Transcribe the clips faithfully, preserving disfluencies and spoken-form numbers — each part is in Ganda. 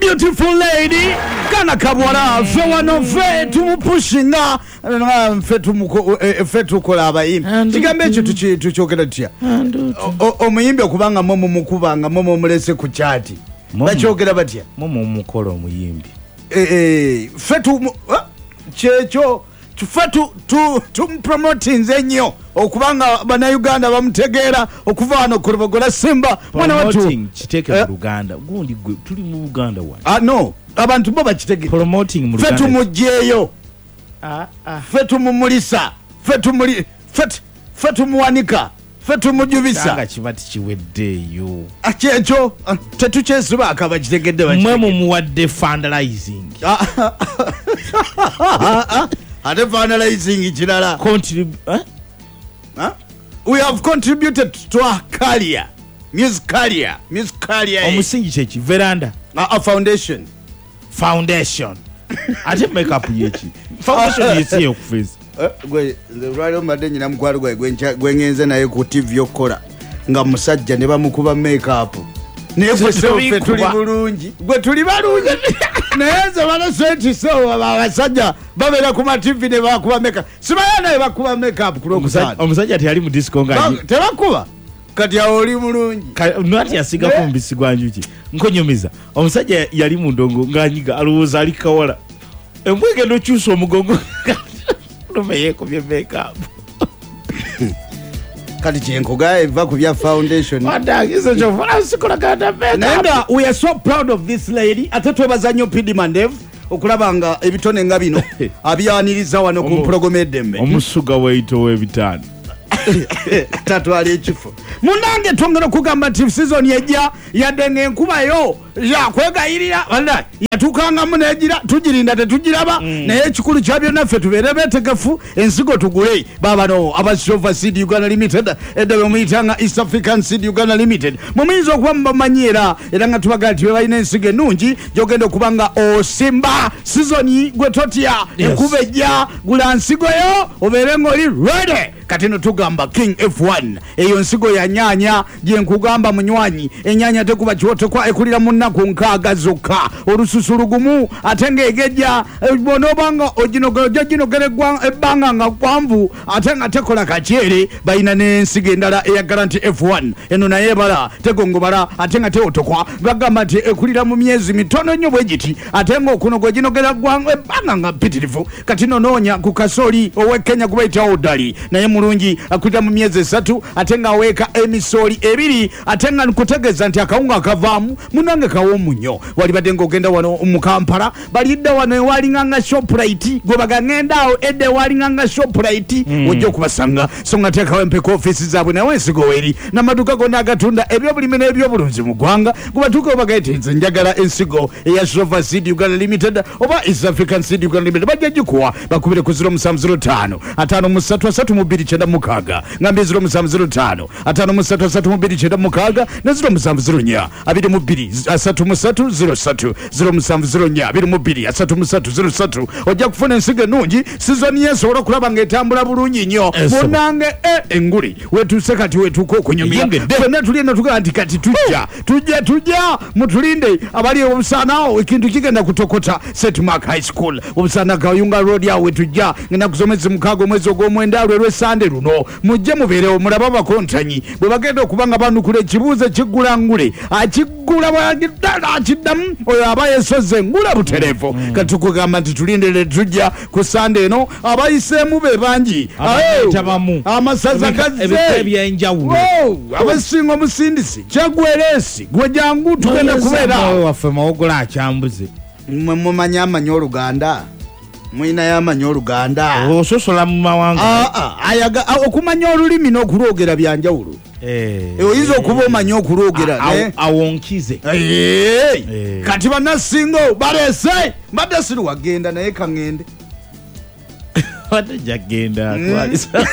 Beautiful lady, kana kabwala ffe wano ffe tumupushinga, ffe ffe tukola abayimbi. Kigambo ekyo tukyogera tutya? Omuyimbi okubanga mwe mumukubanga, mwe mumulese ku kyati, bakyogera batya? Mwe mumukola omuyimbi. Ffe tu kyekyo ffe tumupromotinze nnyo okubanga bannayuganda bamutegeera okuva wano ku Lubogola Simba. Mwana wattu kiteeke mu Luganda, gundi gwe tuli mu Buganda wano. Ah no, abantu bo bakitegere. Promoting mu Luganda. Ffe tumugyeyo, ffe tumumulisa, ffe tumuli ffe tumuwanika, ffe tumujubisa. Nga kiba tikiweddeeyo. Kyekyo tetukyesibaako, abakitegedde mwe mumuwadde fundraising. Ate fundraising kirala. Contrib- eh? Huh? We have contributed to our career, music career, music career. Omusingi kyeki? Veranda. A, a foundation. Foundation. Ate makeup yeki? Foundation yeki okuface. Gwe lwali mbadde nyina mukwano gwe gwe ngenze naye ku T V okukola nga musajja ne bamukuba makeup. Naye gwe ffe tuli bulungi. Gwe tuli balungi. Naye nze bano senti so abasajja babeera ku ma T V ne bakuba makeup. Sibaya naye bakuba makeup ku lwokutaano. Omusajja teyali mu disco nga tebakuba. Kati awo oli mulungi. Nati yasigako omubisi gwa njuki. Nkonyumiza. Omusajja yali mu ndongo ng'anyiga alowooza ali kawala. Embwa egenda okyusa omugongo. Lume yeekubye makeup. Kati kyenkugaye eva ku bya foundation. Wadagizo kyova sikolagana makeup. Naye nga we are so proud of this lady. Ate twebaza nnyo P D Mandev okulaba nga ebitone nga bino abyaniriza wano ku mpologoma eddembe. Omusuga weito w'ebitaano. Tatwala ekifo. Munnange twongera okugamba nti season ejja yadde ng'enkuba yo yakwegayirira wallahi yatuukangamu n'egira tugirinda tetugiraba, naye ekikulu kya byonna ffe tubeere beetegefu ensigo tugule. Baabano aba Shova Seed Uganda Limited, edda be muyitanga East African Seed Uganda Limited, mumuyinza okuba mubamanyi era era nga tubagaa nti be balina ensigo ennungi gy'ogenda okuba nga osimba season gwe totya enkuba ejja, gula nsigo yo obeere ng'oli ready. Kati no tugamba King F one eyo nsigo ya nyanya gye nkugamba munywanyi, ennyanya tekuba kiwotokwa, ekulira mu nnaku nkaaga zokka, olususu lugumu ate ng'egejja bw'onoobanga oginogera ebbanga nga kwanvu ate nga tekola kakyere. Balina n'ensigo endala eya Guarantee F one, eno naye ebala tegongobala ate nga tewotokwa, bagamba nti ekulira mu myezi mitono nnyo bwe giti ate ng'okunoga oginogera ebbanga nga mpitirivu. Kati no noonya ku kasooli ow'e Kenya gwe bayita Odali, naye mulungi akulira mu myezi esatu ate ng'aweeka emisooli ebiri ate nga nkutegeeza nti akawunga akavaamu munnange kawoomu nnyo. Walibadde ng'ogenda wano mu Kampala, balidde wano ewalinganga Shoprite, gwe bagangenda awo edda ewalinganga Shoprite ojja okubasanga. So nga teekawo empeka ofiisi zaabwe nawe ensigo weeri n'amaduuka gonna agatunda ebyobulimi n'ebyobulunzi mu ggwanga. Gwe batuuka obagaite nze njagala ensigo eya Shova Seed Uganda Limited oba East African Seed Uganda Limited, bajja gikuwa. Bakubire ku zero musanvu zero ttaano ataano mu ssatu asatu mu bbiri kyenda mukaaga, ngambye zero musanvu zero ttaano ataano mu ssatu asatu mu bbiri kyenda mukaaga ne zero musanvu zero nnya abiri mu bbiri asatu mu ssatu zero ssatu zero musanvu zero nnya abiri mu bbiri asatu mu ssatu zero ssatu. Ojja kufuna ensigo ennungi, sizoni yesobola okulaba ng'etambula bulungi nnyo. Munnange enguli wetuuse kati wetuuka okunyumira ffenna tuli eno tugamba nti kati tujja tujja tujja mutulinde abali obusaanaawo ekintu kigenda kutokota. Saint Mark High School obusaana Kayunga Road awo wetujja ngenda kusoma mukaaga omwezi ogw'omwenda lwe lw'Essande luno. Mujje mubeerewo mulabe abakontanyi bwe bagenda okuba nga banukula ekibuuzo ekiggula ngule akiggula akiddamu oyo aba yesoze ngula butereevu. Kati tukugamba nti tulindire tujja ku Sande eno, abayiseemu be bangi amasaza gazze ebyenjawulo abasinga omusindisi kyagwereesi gwe jangu tugenda kubeera waffe Mawogola akyambuze. Mmwe mumanyi amanyi Oluganda, mulinayo amanyi Oluganda ososola mu mawanga. Okumanya olulimi n'okulwogera byanjawulo. Oyinza okuba omanyi okulwogera awonkize. Kati bannasingo baleese mbadde siri wagenda naye kaŋŋende ate jagenda atwalisa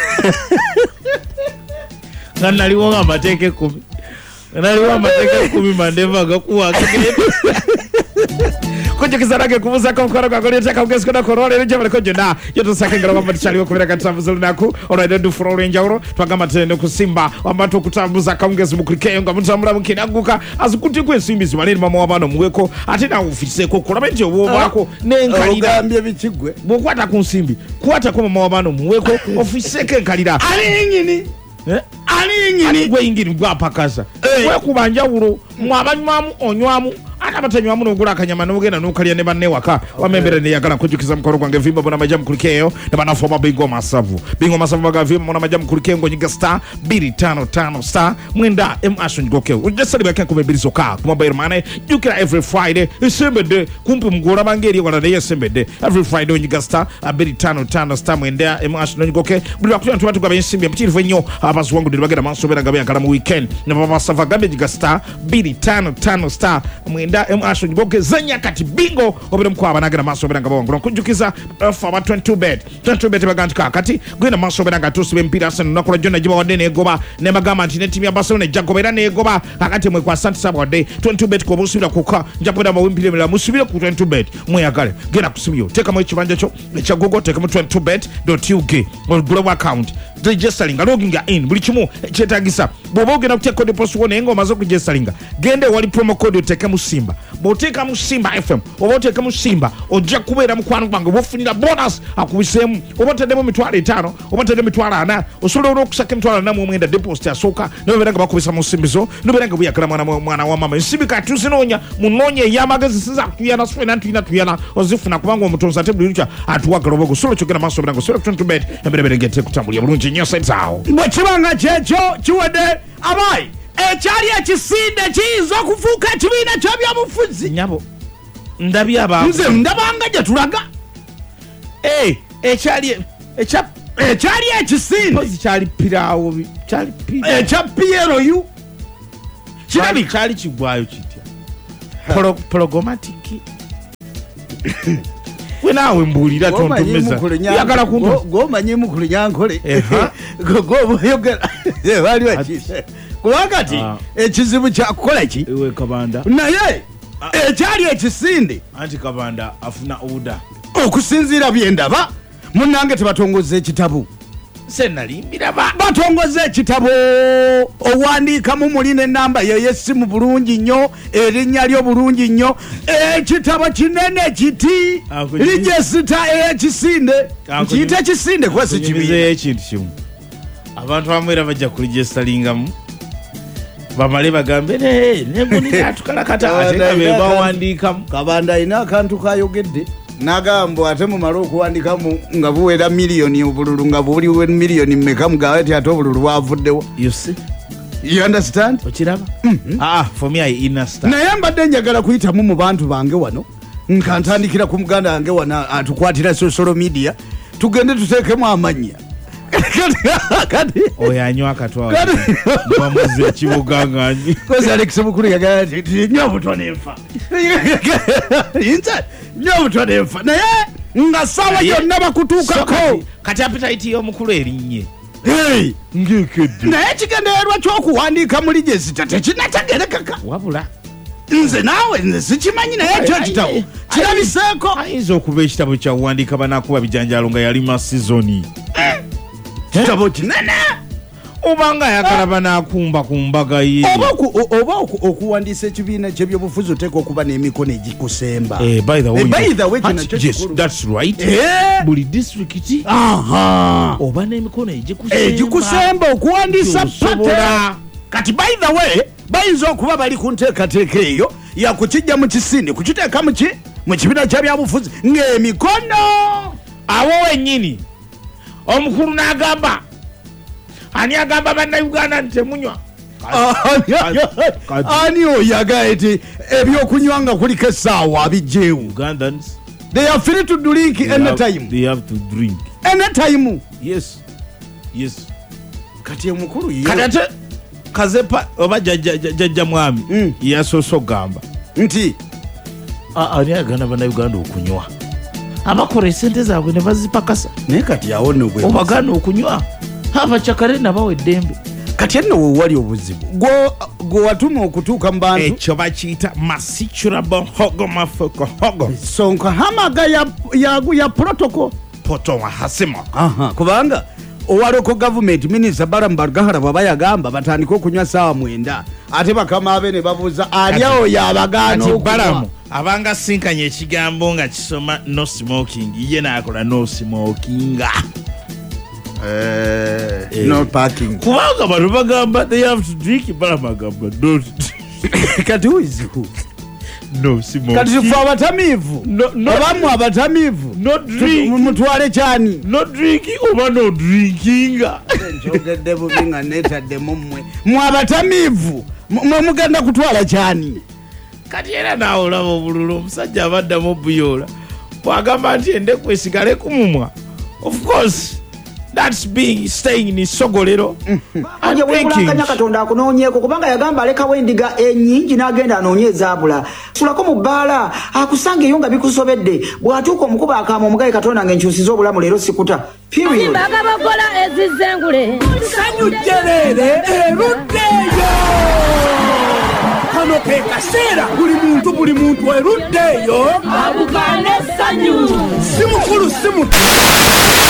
nga naliwo nga amateeka ekkumi naliwo amateeka ekkumi mandeva agakuwa agagenda Nkujjukiza nange kubuuzaako omukwano gwange oleeteka mugezi kona olwaleero gyebaleko gyonna gyotusako engalo wamba tukyaliwo okubeera nga tutambuza olunaku olwaliro dufula olw'enjawulo. Twagamba tugenda okusimba wamba tukutambuza akawungezi mukulikeeyo nga mutambula mukinagguka azikutiko ensimbi zibale eri mama w'abaana omuweko ate naawe ofiseeko kulabe nti obwobaako n'enkalira. Ogambye bikigwe Bw'okwata ku nsimbi kwatako mama w'abaana omuweko ofiseeko enkalira. Ali ingini Eh? ali ingini Gwe ingini gwapakasa Eh. wekuba njawulo mwe abanywamu onywamu ate abatanywamu n'ogula akanyama n'ogenda n'okalya ne banne waka wama embeera neyagala. Nkujjukiza mukono gwange vimba bona majja mukulikeeyo ne banafu aba Bingo Masavu. Bingo Masavu baga vimba bona majja mukulikeeyo ng'onyiga star bbiri ttaano ttaano star mwenda m ash onyigokeo ojja salibwako enkumi ebbiri zokka ku mobile money. Jjukira every Friday esembedde kumpi mugolabanga eri ewala naye esembedde every Friday onyiga star bbiri ttaano ttaano star mwenda m ash n'onyigoke. Buli lwakutya tuba tugaba ensimbi empitirivu ennyo abaziwangudde ne bagenda maaso beera nga beyagala mu weekend ne babasava gambye nyiga star bbiri ttaano ttaano star mwenda m ash onyigoke zanya kati bingo obeere mukwaba nagenda maaso beera nga bawangula. Nkujjukiza ofa aba twenty-two bet twenty-two bet baga nti kaakati genda maaso beera nga tusiba emipiira. Arsenal olunaku lwa jjo nagibawadde neegoba ne bagamba nti ne ttiimu ya Barcelona ejja goba era neegoba. Kakati mwe kwa asante sabawadde twenty-two bet kuba osubira kuka nja kubeera bawa emipiira emirala musubire ku twenty-two bet mweyagale. Genda ku simu yo teekamu ekibanja kyo ekya Google teekamu twenty-two bet ug ogulewo account registeringa loginga in buli kimu kyetagisa. Bw'oba ogenda kuteeka deposit wo naye ng'omaze okuregisteringa genda ewali promo code oteekemu Simba. Bw'oteekamu Simba F M oba oteekemu Simba ojja kubeera mukwano gwange oba ofunira bonus akubiseemu oba otaddemu emitwalo etaano oba otaddemu emitwalo ana osobola olwokusaka emitwalo ana mu omwenda deposit asooka nobeera nga bakubisa mu nsimbi zo nobeera nga buyagala mwana mwana wa mama. Ensimbi kati tuzinoonya munoonye ey'amagezi siza kutuyana sifena tulina tuyana ozifuna kubanga omutonzi ate buli lukya atuwagala obogo sobola kyogenda maaso obeera nga osobola twenty-two bet emberebere ng'ete kutambulira bulungi nnyo sente awo. Bwe kiba nga kyekyo kiwedde abayi ekyali ekisinde kiyinza okufuuka ekibiina ky'ebyobufuzi. Nyabo ndabye aba Nze ndabanga gye tulaga. Eh, ekyali ekya Ekyali ekisinde pozi kyali piraawo bi- kyali piraawo ekya P L U kirabika kyali kigwayo kitya. Polo- pologomatic we naawe mbuulira tontumeza yagala kuntu Gwomanyi mukulu nyankole Eha. gwobayogera waliwo ki kubanga ti Ah. ekizibu kyakukola ki Ewe Kabanda naye ekyali ekisinde anti Kabanda afuna oda. Okusinziira byendaba munnange tebatongoza ekitabo. Senalimbiraba. Batongoza ekitabo owandiikamu muli n'enamba yey'essimu bulungi nnyo erinnya lyo bulungi nnyo ekitabo kinene kiti Ako- register ey'ekisinde Ako- nkiyita ekisinde kuba si kibiina. Kunyumizeyo ekintu kimu abantu abamu era bajja kuregisteringamu bamale bagambe negunatukalakata ate nga be bawandiikamu. Kabanda alina akantu kayogedde n'agamba ate mumale okuwandikamu nga buwera miliyoni obululu nga buliwe miliyoni mmeka mugambe ti ate obululu bwavuddewo. You see? You understand? Okiraba. Ah, for me I understand. Naye mbadde njagala kuyitamu mu bantu bange wano nka ntandikira ku muganda wange wano atukwatira social media tugende tuteekemu amannya kati Oyo anywa akatwa Kati- bamuza ekibuga nga kozi Alex mukulu yagala nti nti nywa obutwa nenfa nze nywa obutwa nenfa naye nga saawa Naye- yonna So bakutuukako. kati- kati appetite y'omukulu erinnye Hey! ngekedde. Naye ekigendererwa ky'okuwandiika mu register tekinategerekeka. Wabula Nze naawe nze sikimanyi naye ekyo ekitabo kirabiseeko. Ayinza okuba ekitabo kyawandiika banakuba bijanjalo nga yalima sizoni. Kitabo kinene. Oba nga ayagala banakumba ku mbaga ye. Oba oku- o- oba oku- okuwandiisa ekibiina kyebyobufuzi oteeka okuba n'emikono egikusemba. Eh, by the way, Eh, by the way, kino Ati- kyo yes, kikulu. that's right. Eh! Buli disitulikiti Aha. oba n'emikono egikusemba Egikusemba okuwandiisa pate Osobola. Kati by the way bayinza okuba bali ku nteekateeka eyo yakukijja mu kisinde kukiteeka muki mu kibiina kyabyabufuzi ng'emikono Awo wennyini omukulu n'agamba ani agamba bannayuganda nti temunywa. Kati- Ani oyo agaye nti ebyokunywa nga kuliko essaawa abijjeewo? Ugandans They are free to drink they have, anytime. they have to drink. Anytime. Yes, yes. Kati omukulu ye Kati ate Kazepa oba jjajja jjajja mwami Mm. yasoose okugamba nti ani agamba bannayuganda okunywa abakola esente zaabwe ne bazipakasa Naye kati awo nno bwe obagaana okunywa abacakale nabawa eddembe. Kati enno wewali obuzibu gwe watuma okutuuka mu bantu. Ekyo bakiyita masichurabo hogo mafuko hogo sonka hamaga ya, ya, ya protocol poto wa hasimo. Aha, kubanga owa local government minister Balaam Barugahara bw'aba yagamba batandike okunywa saawa mwenda, ate bakama abe ne babuuza ali awo yabagaana okunywa. Balaam abanga sinkanye ekigambo nga kisoma no smoking, ye n'akola no smoking. Eh, eh. No parking. Kubanga bano bagamba they have to drink, Balaam agamba don't. Kati who is who? No smoking. Kati ffe abatamiivu no, no, abamu abatamiivu no drink mutwale kyani no drinking oba no drinking. Njogedde bubi nga neetaddemu mmwe mwe abatamiivu mwe mugenda kutwala kyani. Kati era naawe olaba obululu omusajja abaddamu obuyoola bw'agamba nti endeku esigale ku mumwa. Of course that's being staying in Sogolero. Anje wekulankanya Katonda akunoonyeeko kubanga yagamba alekawo endiga ennyingi n'agenda anoonye ezaabula. Sulako mu bbaala akusanga eyo nga bikusobedde bw'atuuka omukuba akaama omugaye Katonda ng'enkyusiza obulamu leero sikuta. Period. Bakola ezizengule. Sanyu jjerere eruddeyo. Kano ke kaseera buli muntu buli muntu eruddeyo. Abukane sanyu. Si mukulu si muto.